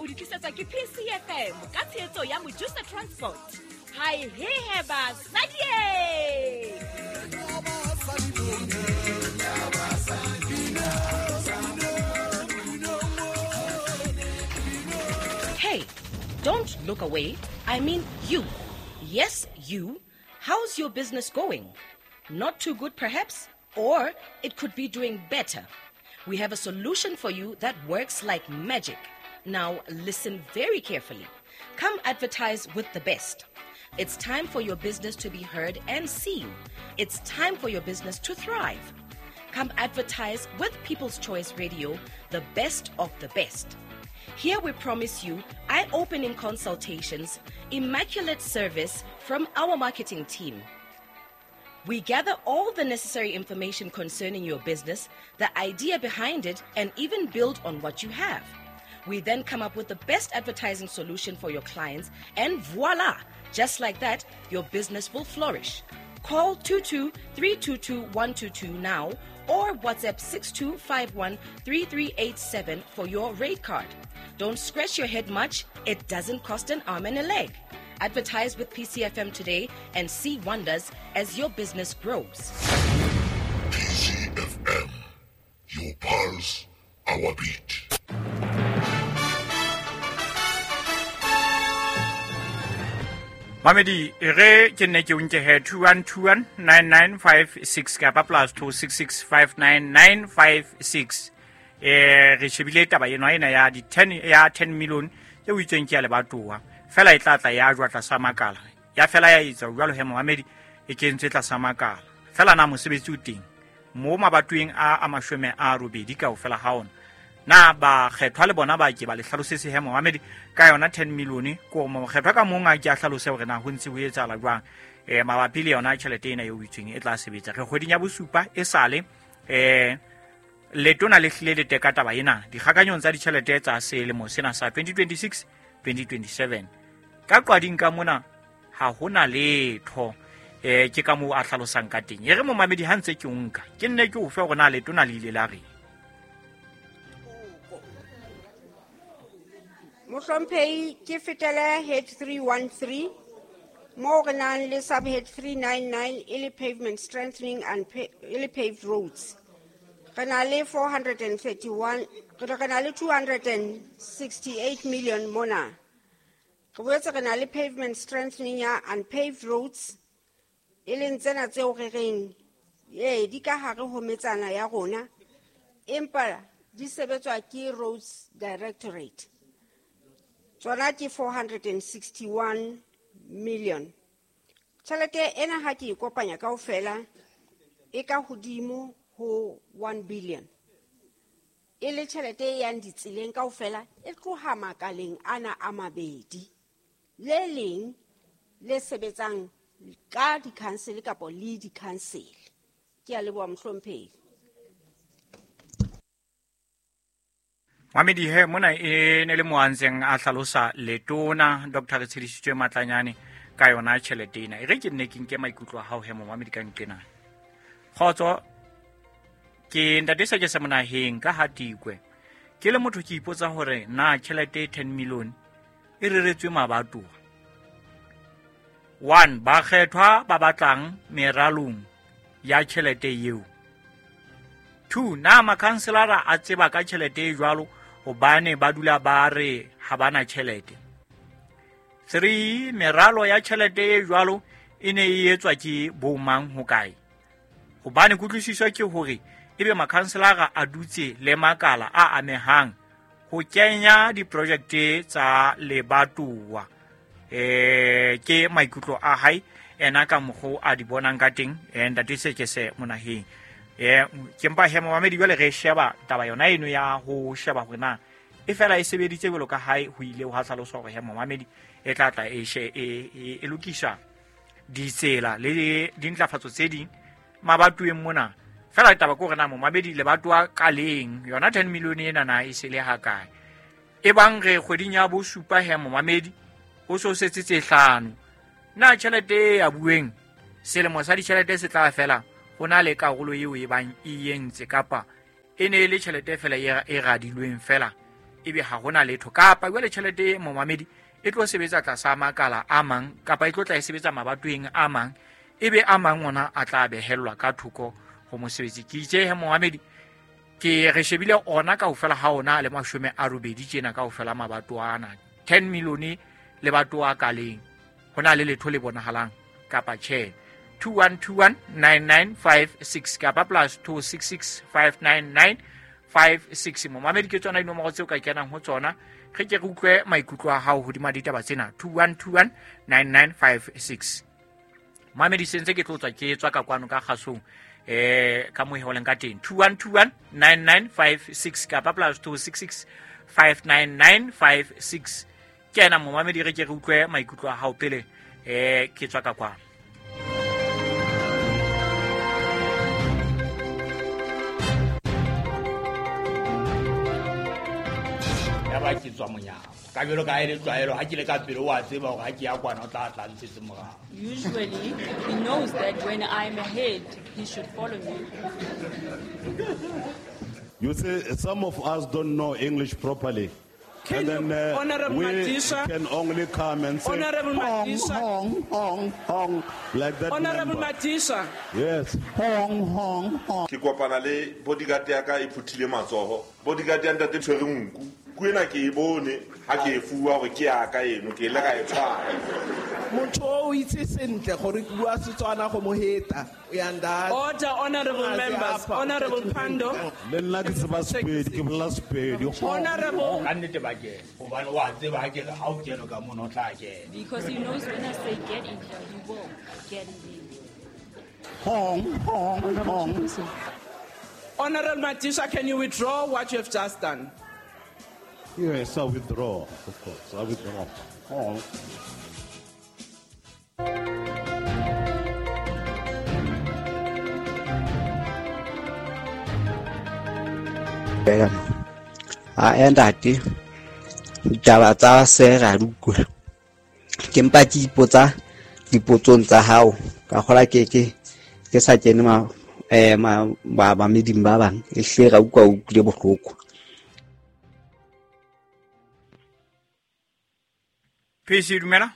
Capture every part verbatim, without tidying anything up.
o di tlisetswa ke P C F M ka tshehetso ya Mojusa Transport. Hai he he basadi. Hey, don't look away. I mean you. Yes, you. How's your business going? Not too good perhaps, or it could be doing better. We have a solution for you that works like magic. Now listen very carefully. Come advertise with the best. It's time for your business to be heard and seen. It's time for your business to thrive. Come advertise with People's Choice Radio, the best of the best. Here we promise you eye-opening consultations, immaculate service from our marketing team. We gather all the necessary information concerning your business, the idea behind it, and even build on what you have. We then come up with the best advertising solution for your clients, and voila! Just like that, your business will flourish. Call two two three two two one two two now or WhatsApp six two five one three three eight seven for your rate card. Don't scratch your head much. It doesn't cost an arm and a leg. Advertise with P C F M today and see wonders as your business grows. P C F M, your pulse, our beat. Mamedi, re ke nne ke o nke he two one two one nine nine five six kapa plus two six six five nine nine five six. Eh re shebile taba eno ena ya di ten ya ten million e o itseng ke ya lebatowa. Fela e tla tla ya jwa tlasa makala. Ya fela ya etsa jwalo he Mohamedi e kentswe tlasa makala. Fela na mosebetsi o teng mo mabatweng a a mashome a robedi kaofela ha ona. Na ba kgethwa le bona ba ke ba le hlalosetse he Mohamedi ka yona ten million ko mo kgethwa ka mong a ke a hlalose hore na ho ntse ho etsahala jwang eh mabapi le yona tjhelete ena eo itsweng e tla sebetsa. Re kgweding ya bosupa e sale eh letona le hlile le teka taba ena dikgakanyong tsa ditjhelete tsa selemo sena sa twenty twenty-six twenty twenty-seven. Ka qwading ka mona ha hona letho eh ke ka moo a hlalosang ka teng. E re momamedi ha ntse ke o nka ke nne ke o fe hore na letona le ile la reng. Mohlomphehi, ke fetele head three one three mo re nang le subhead three nine nine e le pavement strengthening and pa- e le paved roads. Re na le four hundred thirty-one, re na le two hundred sixty-eight million mona. Re boetse re na le pavement strengthening ya unpaved roads e leng tsena tseo re reng ee di ka hare ho metsana ya rona empa di sebetswa ke Roads Directorate. Tsona ke four hundred sixty-one million. Tjhelete ena ha ke e kopanya kaofela e ka hodimo ho one billion. E le tjhelete e yang ditseleng kaofela e tloha makaleng ana a mabedi. Le leng le sebetsang ka di-council kapa le di-council. Ke a leboha mohlomphehi. Mamedi he mona e ne le mo a ntseng a hlalosa letona Doctor Retshedisitswe Matlanyane ka yona tjhelete ena. E re ke nne ke nke maikutlo a hao he momamedi ka nqena. Kgotso ke ntate sa ke se monaheng ka hatikwe. Ke le motho ke ipotsa hore na tjhelete ten million e reretswe mabatowa. One, ba kgethwa ba batlang meralong ya tjhelete eo. Two, na makhanselara a tseba ka tjhelete e jwalo hobane ba dula ba re ha bana tjhelete. Three, meralo ya tjhelete e jwalo e ne e etswa ke bo mang ho kae? Hobane kutlwisiso ke hore ebe makhanselara a dutse le makala a amehang ho kenya diprojekte tsa lebatowa. Eh ke maikutlo a hae ena ka mokgo a di bonang ka teng eh ntate se ke se monaheng. Eh ke mpa he momamedi jwale re sheba taba yona eno ya ho sheba hore na e fela e sebeditse jwalo ka hae ho ile ho hlaloswa hore he momamedi e tla tla e she e e lokisa ditsela le dintlafatso tse ding mabatoweng mona. Fela taba ke hore na momamedi lebatowa ka leng yona ten million ena na e se le ha kae. E bang re kgweding ya bosupa he momamedi o so setse tse hlano. Na tjhelete ya bueng selemo sa ditjhelete se tla fela ho na le karolo eo e bang e entse kapa e ne e le tjhelete fela e radilweng fela ebe ha hona letho kapa jwale tjhelete momamedi e tlo sebetsa tlasa makala a mang kapa e tlo tla e sebetsa mabatoweng a mang ebe a mang ona a tla behellwa ka thoko ho mosebetsi. Ke itse he momamedi ke re shebile ona kaofela ha ona le mashome a robedi tjena kaofela mabato ana ten million le batoa ka leng hona le letho le bonahalang kapa tjhe. Two one two one nine nine five six kapa plus two six six five nine nine five six. Momamedi ke tsona dinomoro tseo ka kenang ho tsona re ke re utlwe maikutlo a hao hodima ditaba tsena. Two one two one nine nine five six. Momamedi sentse ke tlo tswa ke tswa ka kwano ka kgasong eh ka mo holeng ka teng. Two one two one nine nine five six kapa plus two six six five nine nine five six. Ke ena momamedi re ke re utlwe maikutlo a hao pele eh ke tswa ka kwano. Ba ke tswa monyako ka jalo ka ele tlwaelo ha ke le ka pele wa tseba hore ha ke ya kwana o tla tla ntshetse morao. Usually he knows that when I'm ahead he should follow me. You see, some of us don't know English properly. Can and then uh, Honorable we Madisha, can only come and say Honorable hong, Madisha, hong, hong, hong, like that. Honorable member. Madisha. Yes. Hong, hong, hong. Ke kopana le bodyguard ya ka e phuthile matsoho. Bodyguard ya ntate tshwere nku. Kuena ke e bone ha ke e fuwa hore ke ya ka eno ke ile ka e tshwara. Motho o itse sentle gore ke bua Setswana go mo heta. Uyanda. Order, honorable members. Honorable Pando. Le nna ke tseba Sepedi, ke bolela Sepedi. Honorable. Ka nnete ba kena hobane wa tseba ha ke re ha o kene ka mono o tla kena. Because he knows when I say get in here, he will get in here. Hong, hong, hong. Honorable Madisha, can you withdraw what you have just done? Yes, I withdraw, of course. I withdraw. Hong. A ntate ditaba tsa se ra di utlwa ke mpa ke ipotsa dipotsong tsa hao ka kgola ke ke ke sa kene ma eh ma ba ba meding ba bang e hle ra utlwa utlwile bohloko. P C dumela.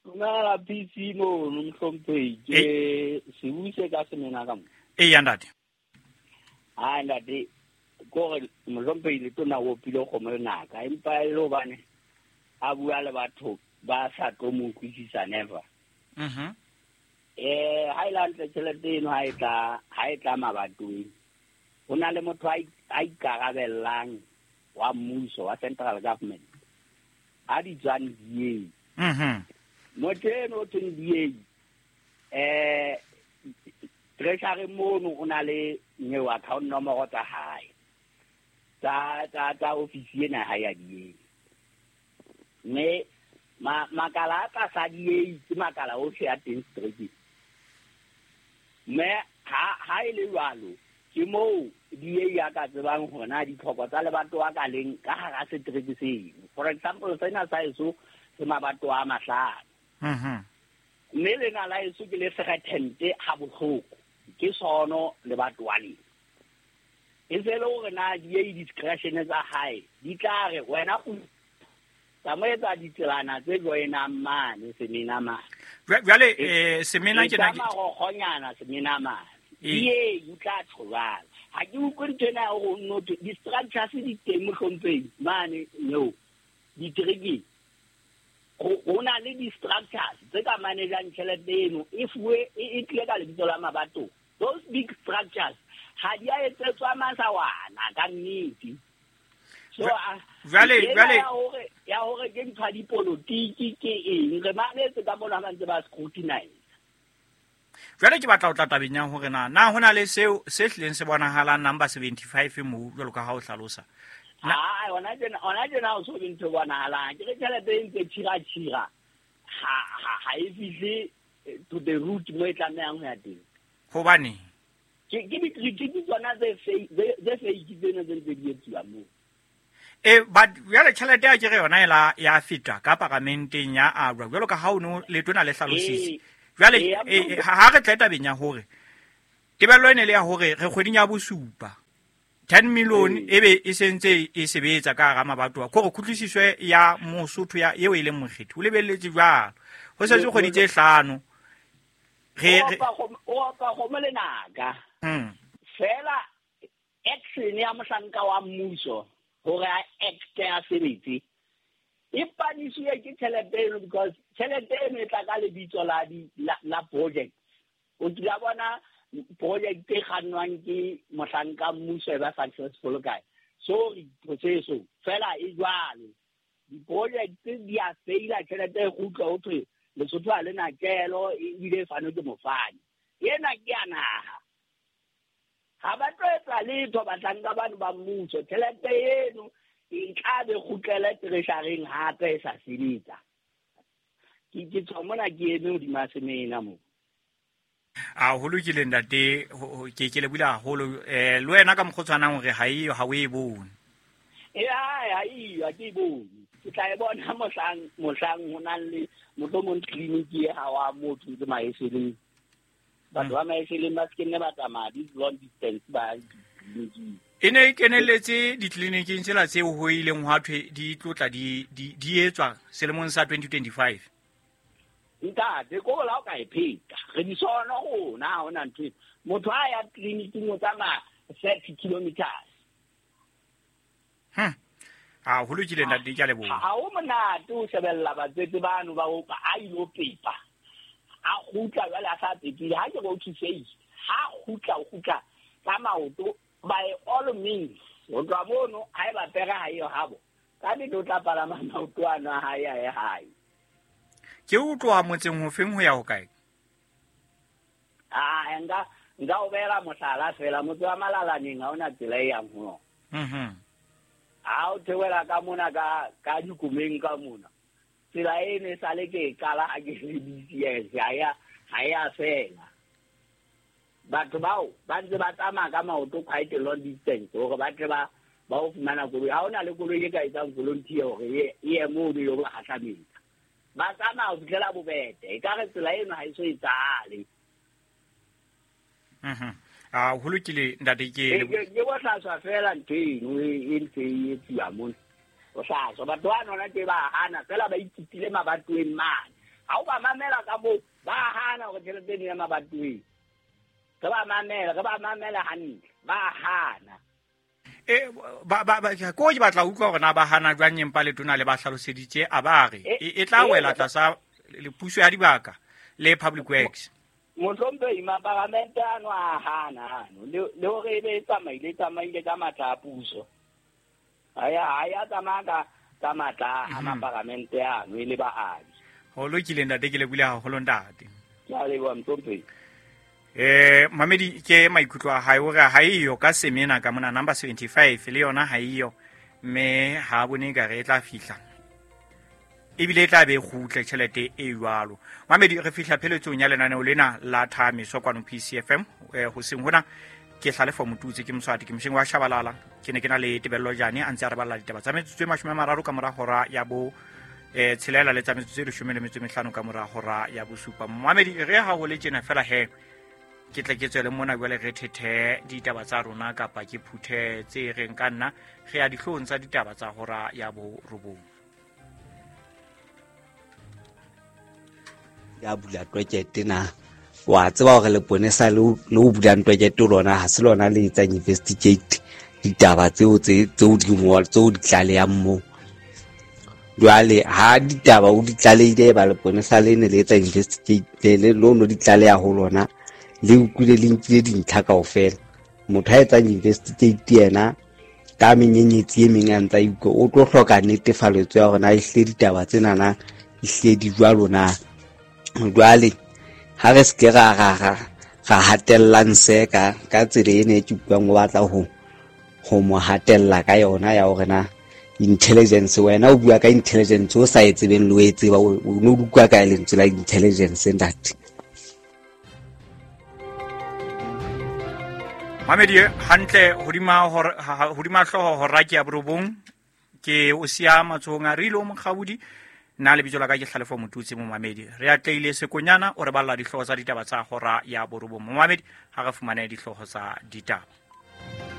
Dumela P C mo mohlomphehi ke se buse ka semena ka mo. E ya ntate. Ah ntate gore mohlomphehi le tona o pile kgomo lenaka empa e le hobane a bua le batho ba sa tlo mo utlwisisa never. Mhm. Eh ha ile hantle tjhelete eno ha e tla ha e tla mabatoweng ho na le motho a ikarabellang wa mmuso wa central government a di tswang D A. Mhm. Motho eno o thweng D A eh treasury mono o na le new account nomoro tsa hae tsa tsa tsa office ena ha ya D A. Mme ma makala a tlasa D A ke makala ohle a teng strike. Mme ha ha e le jwalo ke moo D A ya ka tsebang hore na ditlhoko tsa lebato a ka leng ka hara setereke seno. For example, sena sa eso se mabato a mahlano. Mhm. Mme lena la eso ke le threatened ha bohloko ke sono lebato wa leng. E se le hore na D A discretion tsa hae di tla re wena o tsamaetsa ditselana tse joinang mane semena mane. Jwale eh semena ke na ke magogonyana semena mane. D A o tla tshobala. Ha ke utlwe ntho ena ya hore no di-structures di teng mohlomphehi mane no diterekeng. Ho na le di-structures tse ka manejang tjhelete eno e fuwe e tlile ka lebitso la mabato. Those big structures ha di a etsetswa masawana ka nnete. So jwale jwale ya hore ya hore ke ntho ya dipolotiki ke eng re mametse ka mona ba ntse ba scrutinize. Jwale ke batla ho tla tabeng ya hore na na hona le seo se hlileng se bonahalang number seventy-five moo jwalo ka ha o hlalosa. Ah hona tjena hona tjena o so be ntho bonahalang ke re tjhelete e ntse tshira tshira ha ha ha e fihle to the root mo e tlamehang ho ya teng. Hobane ke ke di-critique tsona tse fake tse fake tsena tse ntse di etsuwa moo. E but jwale tjhelete ya ke re yona ela ya feta ka paramenteng ya alwa jwalo ka ha o no letona le hlalositse. Jwale ha re tle tabeng ya hore tebello ene le ya hore re kgweding ya bosupa ten million e be e sentse e sebetsa ka hara mabatowa kore kutlwisiso ya Mosotho ya eo e leng mokgethi o lebelletse jwalo ho setse kgwedi tse hlano re o opa kgomo lenaka mm fela action ya mohlanka wa mmuso hore a acte a sebetse e panisiwe ke tjhelete eno because tjhelete eno e tla ka lebitso la di la project. O kila bona project e kgannwang ke mohlanka mmuso e ba successful kae? Sorry proceso fela e jwalo. Di-project di a faila, tjhelete e kgutla ho thwe Lesotho ha le na kelo ebile e fanwe ke mofani. Ena ke ya naha. Ha ba tlo etsa letho bahlanka bano ba mmuso, tjhelete eno e tla be kgutlele treasury-eng hape e sa sebetsa. Ke ke tswa mona ke eme hodima semena moo. A ho lokile ntate, ke ke lebohile haholo. Eh le wena ka mokgwa o tshwanang hore ha eyo ha o e bone. Eh ha eyo ha ke e bone. Ke tla e bona mohlang mohlang ho nang le mohlomong clinic e ha wa motho ntse maeseleng. Batho ba maeseleng ba se nne ba tsamaya di long distance ba clinic. E ne e kenelletse ditleliniking tsela tseo ho ileng hwa thwe di tlotla di di etswa selemong sa twenty twenty-five. Ntate ko la o ka e pheta re di sona rona ha hona ntho. Motho a ya tleliniking o tsamaya thirty kilometers. Hm. A ho lokile ntate, ke a leboha. Ha o monate o shebella batswetse bano ba o a ilo pepa. A kgutla jwale a sa pepile, ha ke re o thusehile. Ha kgutla o kgutla ka maoto by all means. Ho tloha mono ha eba pere ha eyo habo. Ka nnete o tla palama maoto ano a hae a ye hae. Ke o tloha motseng hofeng ho ya hokae? Ah, nka nka o beela mohlala fela, motse wa Malalaneng ha hona tsela e yang ho yona. Mhm. Ha o theohela ka mona ka ka dikomeng ka mona. Tsela eno e sale ke e qala ha ke le B C S, ha ya ha ya fela. Batho bao ba ntse ba tsamaya ka maoto quite a long distance hore ba tle ba ba o fumana koloi. Ha hona le koloi e ka etsang volunteer hore e ye moo e yo ba kgahlametsa. Ba tsamaya ho fihlela Bobete. Ekare tsela eno ha e so etsahale. Mhm. A ho lokile ntate, ke ke bohlaswa fela ntho eno e ntse e etsuwa mona. Bohlaswa batho ba nona ke ba hana fela ba ithutile mabatoweng mane. Ha o ba mamela ka moo ba hana hore tjhelete eno ya mabatoweng. Re ba mamela, re ba mamela hantle, ba hana. E ba ba ko ke batla utlwa hore na ba hana jwang empa letona le ba hlaloseditse a ba re e tla wela tlasa puso ya dibaka le Public Works. Mohlomphehi maparamente ano a hana ano le hore e be e tsamaile e tsamaile ka matla a puso. Ha ya ha ya tsamaya ka ka matla a maparamente ano e le baabi. Ho lokile ntate, ke lebohile haholo ntate. Ke a leboha mohlomphehi. Eh mamedi ke maikutlo a hae hore ha eyo ka semena ka mona number seventy-five le yona ha eyo mme ha bone ka re e tla fihla ebile e tla be kgutle tjhelete e jwalo. Mamedi re fihla pheletsong ya lenaneo lena la Thamiso kwano P C F M eh hoseng hona ke Hlalefo Motutsi ke Moswati ke mosheng wa Shabalala ke ne ke na le Tebello Jane a ntse a re balla ditaba tsa metsotso e mashome a mararo ka mora hora ya bo eh tshelela le tsa metsotso e leshome le metso e mehlano ka mora hora ya bosupa. Mamedi re ha ho le tjena fela he ke tle ke tswele mona jwale re thethe ditaba tsa rona kapa ke phuthe tse reng ka nna re ya dihloohong tsa ditaba tsa hora ya borobong. Ya bula twekete na wa tseba hore leponesa le o bulang twekete lona ha se lona le etsang investigate ditaba tseo tse tseo di ngol tseo di tlalehang moo. Jwale ha ditaba o di tlalehile ba leponesa le ne le etsa investigate le lono di tlaleha ho lona le utlwile le nkile dintlha kaofela. Motho ha etsang investigate yena ka menyenyetsi e meng a ntsa utlwa o tlo hloka netefaletso ya hore na ehlile ditaba tsena na ehlile di jwalo na. Jwale ha re se ke ra ra ra hatellang se ka ka tsela ena e ke utlwang o batla ho ho mo hatella ka yona ya hore na intelligence wena o bua ka intelligence o sa e tsebeng le o e tseba o no utlwa ka lentswe la intelligence ntate. Mamedi hantle hodima hore hodima hlooho hora ke ya borobong ke o siya matsohong a Rilo Mokgabudi nna lebitso la ka ke Hlalefo Motutsi. Momamedi re atleile sekonyana o re balla dihlooho tsa ditaba tsa hora ya borobong. Momamedi ha re fumane dihlooho tsa ditaba.